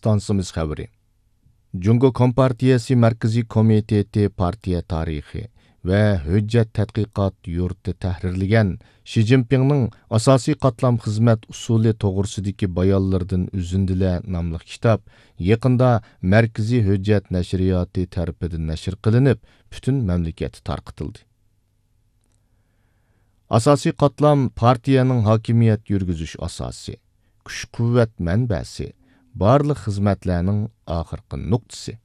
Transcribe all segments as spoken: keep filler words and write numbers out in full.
ئىستانسىمىز خەۋىرى. جۇڭگو كومپارتىيەسى مەركىزىي كومىتېتى پارتىيە تارىخى ۋە ھۆججەت تەتقىقات يۇرتى تەھرىرلىگەن شى جىنپىڭنىڭ ئاساسىي قاتلام خىزمەت ئۇسۇلى توغرىسىدىكى بايانلىرىدىن ئۈزۈندىلەر ناملىق كىتاب يېقىندا مەركىزىي ھۆججەت نەشرىياتى تەرىپىدىن نەشر قىلىنىپ، پۈتۈن مەملىكەتتە تارقىتىلدى. ئاساسىي قاتلام پارتىيەنىڭ ھاكىمىيەت يۈرگۈزۈش ئاساسى، كۈچ-قۇۋۋەت مەنبەسى، بارلىق خىزمەتلەرنىڭ ئاخىرقى نۇقتىسى.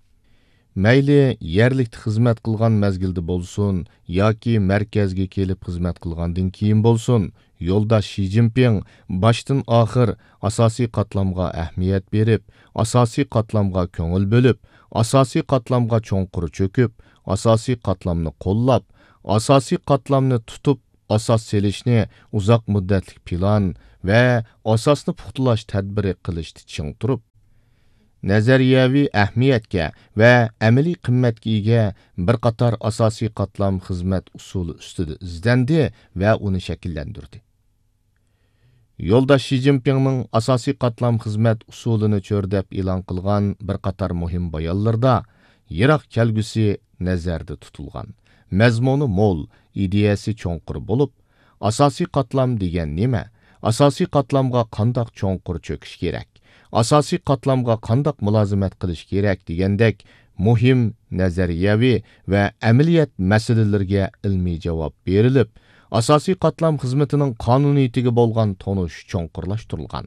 مەيلى يەرلىكتە خىزمەت قىلغان مەزگىلدە بولسۇن ياكى مەركەزگە كېلىپ خىزمەت قىلغاندىن كېيىن بولسۇن، يولداش شى جىنپىڭ باشتىن ئاخىر ئاساسىي قاتلامغا ئەھمىيەت بېرىپ، ئاساسىي قاتلامغا كۆڭۈل بۆلۈپ، ئاساسىي قاتلامغا چوڭقۇر چۆكۈپ، ئاساسىي قاتلامنى قوللاپ، ئاساسىي قاتلامنى تۇتۇپ، ئاساس سېلىشنى ئۇزاق مۇددەتلىك پىلان ۋە ئاساسنى پۇختىلاش تەدبىرى قىلىشتا چىڭ تۇرۇپ، نەزەرىيەۋى ئەھمىيەتكە ۋە ئەمەلىي قىممەتكە ئىگە بىر قاتار ئاساسىي قاتلام خىزمەت ئۇسۇلى ئۈستىدە ئىزدەندى ۋە ئۇنى شەكىللەندۈردى. يولداش شى جىنپىڭنىڭ ئاساسىي قاتلام خىزمەت ئۇسۇلىنى چۆرىدەپ ئېلان قىلغان بىر قاتار مۇھىم بايانلىرىدا يىراق كەلگۈسى نەزەردە تۇتۇلغان، مەزمۇنى مول، ئىدىيەسى چوڭقۇر بولۇپ، ئاساسىي قاتلام دېگەن نېمە؟ ئاساسىي قاتلامغا قانداق چوڭقۇر چۆكۈش كېرەك؟ ئاساسىي قاتلامغا قانداق مۇلازىمەت قىلىش كېرەك؟ دېگەندەك مۇھىم نەزەرىيەۋى ۋە ئەمەلىيەت مەسىلىلىرىگە ئىلمىي جاۋاب بېرىلىپ، ئاساسىي قاتلام خىزمىتىنىڭ قانۇنىيىتىگە بولغان تونۇش چوڭقۇرلاشتۇرۇلغان.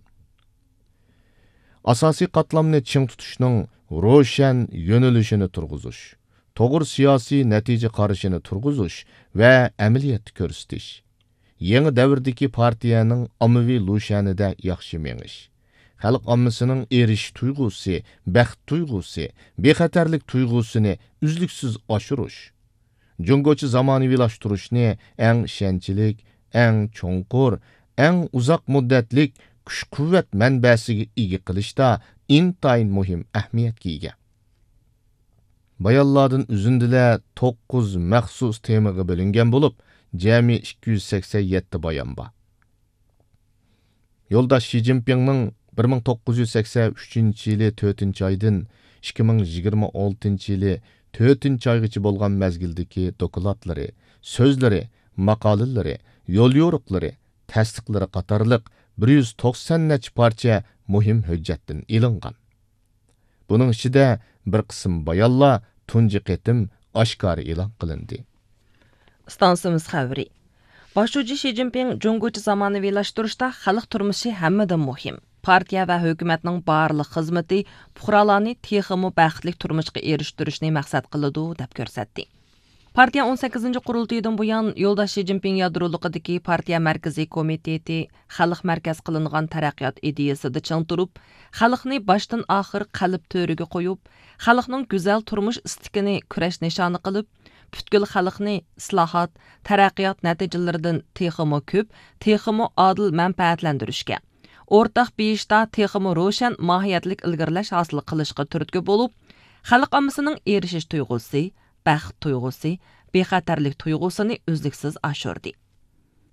ئاساسىي قاتلامنى چىڭ تۇتۇشنىڭ روشەن يۆنىلىشىنى تۇرغۇزۇش، توغرا سىياسىي نەتىجە قارىشىنى تۇرغۇزۇش ۋە ئەمەلىيەتتە كۆرسىتىش، يېڭى دەۋردىكى پارتىيەنىڭ ئاممىۋى لۇشيەنىدە ياخشى مېڭىش، خەلق ئاممىسىنىڭ ئېرىشىش تۇيغۇسى، بەخت تۇيغۇسى، بىخەتەرلىك تۇيغۇسىنى ئۈزلۈكسىز ئاشۇرۇش، جۇڭگوچە زامانىۋىلاشتۇرۇشنى ئەڭ ئىشەنچلىك، ئەڭ چوڭقۇر، ئەڭ ئۇزاق مۇددەتلىك كۈچ-قۇۋۋەت مەنبەسىگە ئىگە قىلىشتا ئىنتايىن مۇھىم ئەھمىيەتكە ئىگە. بايانلاردىن ئۈزۈندىلەر توققۇز مەخسۇس تېمىغا بۆلۈنگەن بولۇپ، جەمئىي ئىككى يۈز سەكسەن يەتتە بايان بار. يولداش شى جىنپىڭنىڭ بىر مىڭ توققۇز يۈز سەكسەن ئۈچىنچى يىلى تۆتىنچى ئايدىن ئىككى مىڭ يىگىرمە ئالتىنچى يىلى تۆتىنچى ئايغىچە بولغان مەزگىلدىكى دوكلاتلىرى، سۆزلىرى، ماقالىلىرى، يوليورۇقلىرى، تەستىقلىرى قاتارلىق بىر يۈز توقسان نەچچە پارچە مۇھىم ھۆججەتتىن ئېلىنغان. بۇنىڭ ئىچىدە بىر قىسىم بايانلار تۇنجى قېتىم ئاشكارا ئېلان قىلىندى. ئىستانسىمىز خەۋىرى. باش شۇجى شى جىنپىڭ جۇڭگوچە زامانىۋىلاشتۇرۇشتا خەلق تۇرمۇشى ھەممىدىن مۇھىم. پارتىيە ۋە ھۆكۈمەتنىڭ بارلىق خىزمىتى پۇقرالارنى تېخىمۇ بەختلىك تۇرمۇشقا ئېرىشتۈرۈشنى مەقسەت قىلىدۇ، دەپ كۆرسەتتى. پارتىيە ئون سەككىزىنچى قۇرۇلتىيىدىن بۇيان، يولداش شى جىنپىڭ يادرولۇقىدىكى پارتىيە مەركىزىي كومىتېتى خەلق مەركەز قىلىنغان تەرەققىيات ئىدىيەسىدە چىڭ تۇرۇپ، خەلقنى باشتىن ئاخىر قەلب تۆرىگە قويۇپ، خەلقنىڭ گۈزەل تۇرمۇش ئىستىكىنى كۈرەش نىشانى قىلىپ، پۈتكۈل خەلقنى ئىسلاھات، تەرەققىيات نەتىجىلىرىدىن تېخىمۇ كۆپ، تېخىمۇ ئادىل مەنپەئەتلەندۈرۈشكە، ئورتاق بېيىشتا تېخىمۇ روشەن ماھىيەتلىك ئىلگىرىلەش ھاسىل قىلىشقا تۈرتكە بولۇپ، خەلق ئاممىسىنىڭ ئېرىشىش تۇيغۇسى، بەخت تۇيغۇسى، بىخەتەرلىك تۇيغۇسىنى ئۈزلۈكسىز ئاشۇردى.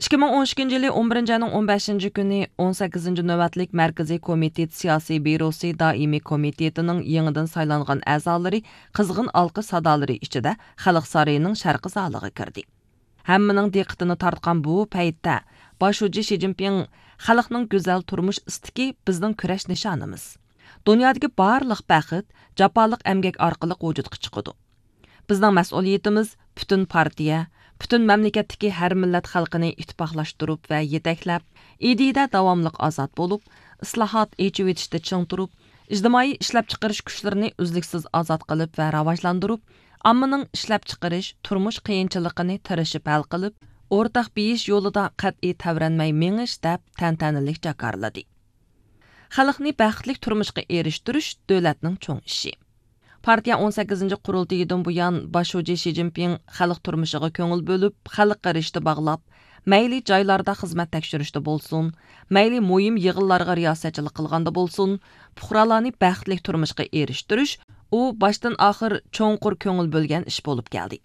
ئىككى مىڭ ئون ئىككىنچى يىلى ئون بىرىنچى ئاينىڭ ئون بەشىنچى كۈنى ئون سەككىزىنچى نۆۋەتلىك مەركىزىي كومىتېت سىياسىي بيۇروسى دائىمىي كومىتېتىنىڭ يېڭىدىن سايلانغان ئەزالىرى قىزغىن ئالقىش سادالىرى ئىچىدە خەلق سارىيىنىڭ شەرقىي زالىغا كىردى. ھەممىنىڭ دىققىتىنى تارتقان بۇ پەيتتە، باش شۇجى شى جىنپىڭ، خەلقنىڭ گۈزەل تۇرمۇش ئىستىكى بىزنىڭ كۈرەش نىشانىمىز. دۇنيادىكى بارلىق بەخت جاپالىق ئەمگەك ئارقىلىق ۋۇجۇدقا چىقىدۇ. بىزنىڭ مەسئۇلىيىتىمىز پۈتۈن پارتىيە، پۈتۈن مەملىكەتتىكى ھەر مىللەت خەلقىنى ئىتتىپاقلاشتۇرۇپ ۋە يېتەكلەپ، ئىدىيىدە داۋاملىق ئازاد بولۇپ، ئىسلاھات، ئېچىۋېتىشتە چىڭ تۇرۇپ، ئىجتىمائىي ئىشلەپچىقىرىش كۈچلىرىنى ئۈزلۈكسىز ئازاد قىلىپ ۋە راۋاجلاندۇرۇپ، ئاممىنىڭ ئىشلەپچىقىرىش، تۇرمۇش قىيىنچىلىقىنى تىرىشىپ ھەل قىلىپ، ئورتاق بېيىش يولىدا قەتئىي تەۋرەنمەي مېڭىش، دەپ تەنتەنىلىك جاكارلىدى. خەلقنى بەختلىك تۇرمۇشقا ئېرىشتۈرۈش دۆلەتنىڭ چوڭ ئىشى. پارتىيە ئون سەككىزىنچى قۇرۇلتىيىدىن بۇيان، باش شۇجى شى جىنپىڭ خەلق تۇرمۇشىغا كۆڭۈل بۆلۈپ، خەلققە رىشتە باغلاپ، مەيلى جايلاردا خىزمەت تەكشۈرۈشتە بولسۇن، مەيلى مۇھىم يىغىنلارغا رىياسەتچىلىك قىلغاندا بولسۇن، پۇقرالارنى بەختلىك تۇرمۇشقا ئېرىشتۈرۈش، ئۇ باشتىن ئاخىر چوڭقۇر كۆڭۈل بۆلگەن ئىش بولۇپ كەلدى.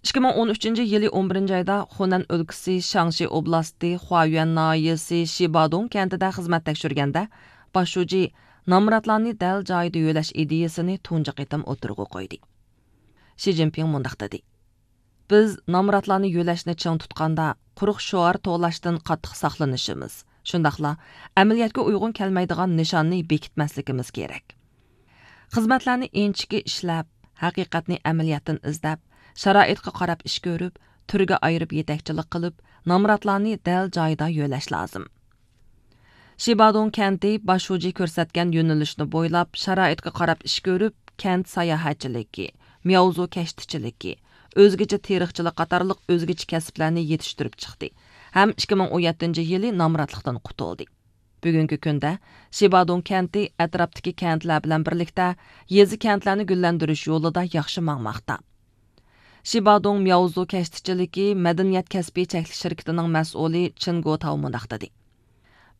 ئىككى مىڭ ئون ئۈچىنچى يىلى ئون بىرىنچى ئايدا خۇنەن ئۆلكىسى شاڭشى ئوبلاستى خۇايۈەن ناھىيەسى شىبادۇڭ كەنتىدە خىزمەت تەكشۈرگەندە، باش شۇجى نامراتلارنى دەل جايىدا يۆلەش ئىدىيىسىنى تۇنجى قېتىم ئوتتۇرىغا قويدى. شى جىنپىڭ مۇنداق دېدى: بىز نامراتلارنى يۆلەشنى چىڭ تۇتقاندا، قۇرۇق شوئار توۋلاشتىن قاتتىق ساقلىنىشىمىز، شۇنداقلا ئەمەلىيەتكە ئۇيغۇن كەلمەيدىغان نىشاننى بېكىتمەسلىكىمىز كېرەك. خىزمەتلەرنى ئىنچىكە ئىشلەپ، ھەقىقەتنى ئەمەلىيەتتىن ئىزدەپ، شارائىتقا قاراپ ئىش كۆرۈپ، تۈرگە ئايرىپ يېتەكچىلىك قىلىپ، نامراتلارنى دەل جايىدا يۆلەش لازىم. شىبادۇڭ كەنتى باش شۇجى كۆرسەتكەن يۆنىلىشنى بويلاپ، شارائىتقا قاراپ ئىش كۆرۈپ، كەنت ساياھەتچىلىكى، مياۋزۇ كەشتىچىلىكى، ئۆزگىچە تېرىقچىلىق قاتارلىق ئۆزگىچە كەسىپلەرنى يېتىشتۈرۈپ چىقتى ھەم ئىككى مىڭ ئون يەتتىنچى يىلى نامراتلىقتىن قۇتۇلدى. بۈگۈنكى كۈندە شىبادۇڭ كەنتى ئەتراپتىكى كەنتلەر بىلەن بىرلىكتە يېزا، كەنتلەرنى گۈللەندۈرۈش يولىدا ياخشى ماڭماقتا. شىبادۇڭ مياۋزۇ كەشتىچىلىكى مەدەنىيەت كەسپى چەكلىك شىركىتىنىڭ مەسئۇلى چېن گوتاۋ مۇنداق دېدى: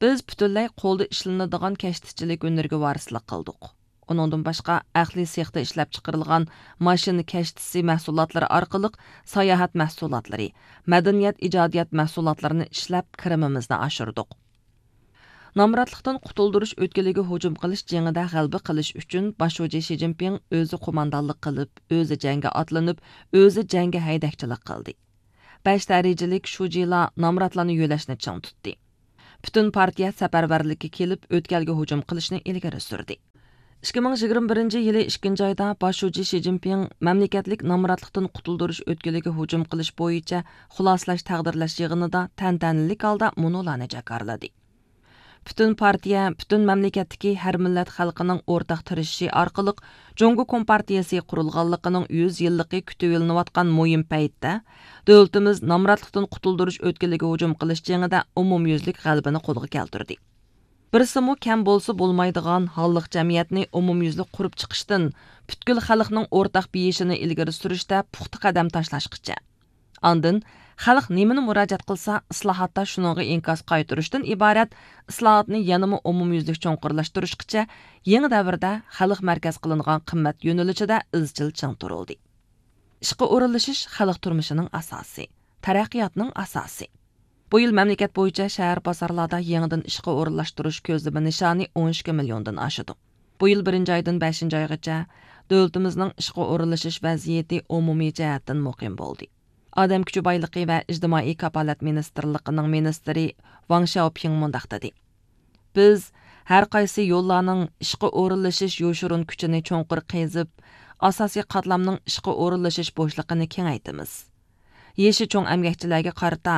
بىز پۈتۈنلەي قولدا ئىشلىنىدىغان كەشتىچىلىك ھۈنىرىگە ۋارىسلىق قىلدۇق. ئۇنىڭدىن باشقا، ئەقلىي سېختا ئىشلەپچىقىرىلغان ماشىنا كەشتىسى مەھسۇلاتلىرى ئارقىلىق ساياھەت مەھسۇلاتلىرى، مەدەنىيەت ئىجادىيەت مەھسۇلاتلىرىنى ئىشلەپ، كىرىمىمىزنى ئاشۇردۇق. نامراتلىقتىن قۇتۇلدۇرۇش ئۆتكىلىگە ھۇجۇم قىلىش جېڭىدە غەلىبە قىلىش ئۈچۈن، باش شۇجى شى جىنپىڭ ئۆزى قوماندانلىق قىلىپ، ئۆزى جەڭگە ئاتلىنىپ، ئۆزى جەڭگە ھەيدەكچىلىك قىلدى. بەش دەرىجىلىك شۇجىلار نامراتلارنى يۆلەشنى چىڭ تۇتتى. پۈتۈن پارتىيە سەپەرۋەرلىككە كېلىپ، ئۆتكەلگە ھۇجۇم قىلىشنى ئىلگىرى سۈردى. ئىككى مىڭ يىگىرمە بىرىنچى يىلى ئىككىنچى ئايدا باش شۇجى شى جىنپىڭ مەملىكەتلىك نامراتلىقتىن قۇتۇلدۇرۇش ئۆتكىلىگە ھۇجۇم قىلىش بويىچە خۇلاسىلەش تەقدىرلەش يىغىنىدا تەنتەنىلىك ھالدا مۇنۇلارنى جاكارلىدى: پۈتۈن پارتىيە، پۈتۈن مەملىكەتتىكى ھەر مىللەت خەلقىنىڭ ئورتاق تىرىشىشى ئارقىلىق جۇڭگو كومپارتىيىسى قۇرۇلغانلىقىنىڭ يۈز يىللىقى كۈتۈۋېلىنىۋاتقان مۇھىم پەيتتە، دۆلىتىمىز نامراتلىقتىن قۇتۇلدۇرۇش ئۆتكىلىگە ھۇجۇم قىلىش جېڭىدە ئومۇميۈزلۈك غەلىبىنى قولغا كەلتۈردى. بىرسىمۇ كەم بولسا بولمايدىغان ھاللىق جەمئىيەتنى ئومۇميۈزلۈك قۇرۇپ چىقىشتىن، پۈتكۈل خەلقنىڭ ئورتاق بېيىشىنى ئىلگىرى سۈرۈشتە پۇختا قەدەم تاشلاشقىچە. ئاندىن، خەلق نېمىنى مۇراجىئەت قىلسا، ئىسلاھاتتا شۇنىڭغا ئىنكاس قايتۇرۇشتىن ئىبارەت ئىسلاھاتنى يەنىمۇ ئومۇميۈزلۈك چوڭقۇرلاشتۇرۇشقىچە يېڭى دەۋردە خەلق مەركەز قىلىنغان قىممەت يۆنىلىشىدە ئىزچىل چىڭ تۇرۇلدى. ئىشقا ئورۇنلىشىش خەلق تۇرمۇشىنىڭ ئاساسى، تەرەققىياتنىڭ ئاساسى. بۇ يىل مەملىكەت بويىچە شەھەر بازارلاردا يېڭىدىن ئىشقا ئورۇنلاشتۇرۇش كۆزلىمە نىشانى ئون ئىككى مىليوندىن ئاشىدۇ. بۇ يىل بىرىنچى ئايدىن بەشىنچى ئايغىچە دۆلىتىمىزنىڭ ئىشقا ئورۇنلىشىش ۋەزىيىتى ئومۇمىي جەھەتتىن مۇقىم بولدى. ئادەم كۈچى بايلىقى ۋە ئىجتىمائىي كاپالەت مىنىستىرلىقىنىڭ مىنىستىرى ۋاڭ شياۋپىڭ مۇنداق دېدى: بىز ھەر قايسى يوللارنىڭ ئىشقا ئورۇنلىشىش يوشۇرۇن كۈچىنى چوڭقۇر قېزىپ، ئاساسىي قاتلامنىڭ ئىشقا ئورۇنلىشىش بوشلۇقىنى كېڭەيتىمىز. يېشى چوڭ ئەمگەكچىلەرگە قارىتا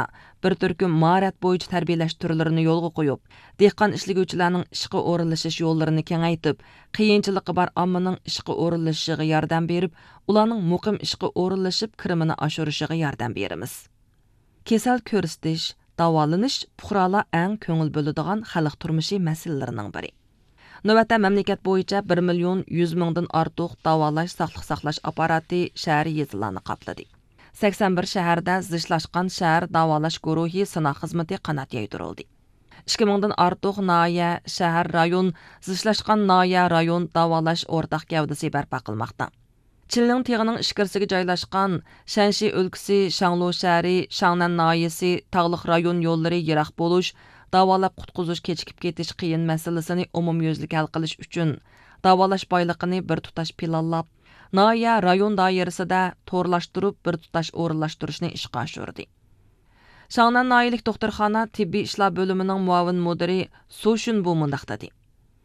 بىر تۈركۈم ماھارەت بويىچە تەربىيەلەش تۈرلىرىنى يولغا قويۇپ، دېھقان ئىشلىگۈچىلەرنىڭ ئىشقا ئورۇنلىشىش يوللىرىنى كېڭەيتىپ، قىيىنچىلىقى بار ئاممىنىڭ ئىشقا ئورۇنلىشىشىغا ياردەم بېرىپ، ئۇلارنىڭ مۇقىم ئىشقا ئورۇنلىشىپ، كىرىمىنى ئاشۇرۇشىغا ياردەم بېرىمىز. كېسەل كۆرسىتىش، داۋالىنىش پۇقرالار ئەڭ كۆڭۈل بۆلىدىغان خەلق تۇرمۇشى مەسىلىلىرىنىڭ بىرى. نۆۋەتتە مەملىكەت بويىچە بىر مىليون يۈز مىڭدىن ئارتۇق داۋالاش، ساقلىق ساقلاش ئاپپاراتى شەھەر، يېزىلارنى قاپلىدى. سەكسەن بىر شەھەردە زىچلاشقان شەھەر داۋالاش گۇرۇھى سىناق خىزمىتى قانات يايدۇرۇلدى. ئىككى مىڭدىن ئارتۇق ناھىيە، شەھەر، رايون زىچلاشقان ناھىيە، رايون داۋالاش ئورتاق گەۋدىسى بەرپا قىلماقتا. چىلىڭ تېغىنىڭ ئىچكىرىسىگە جايلاشقان شەنشى ئۆلكىسى شاڭلۇ شەھىرى، شاڭنەن ناھىيەسى، تاغلىق رايون يوللىرى يىراق بولۇش، داۋالاپ قۇتقۇزۇش كېچىكىپ كېتىش قىيىن مەسىلىسىنى ئومۇميۈزلۈك ھەل قىلىش ئۈچۈن، داۋالاش بايلىقىنى بىر تۇتاش پىلانلاپ، ناھىيە، رايون دائىرىسىدە تورلاشتۇرۇپ بىر تۇتاش ئورۇنلاشتۇرۇشنى ئىشقا ئاشۇردى. شاڭنەن ناھىيەلىك دوختۇرخانا تېببىي ئىشلار بۆلۈمىنىڭ مۇئاۋىن مۇدىرى سۇ شۈنبۇ مۇنداق دېدى: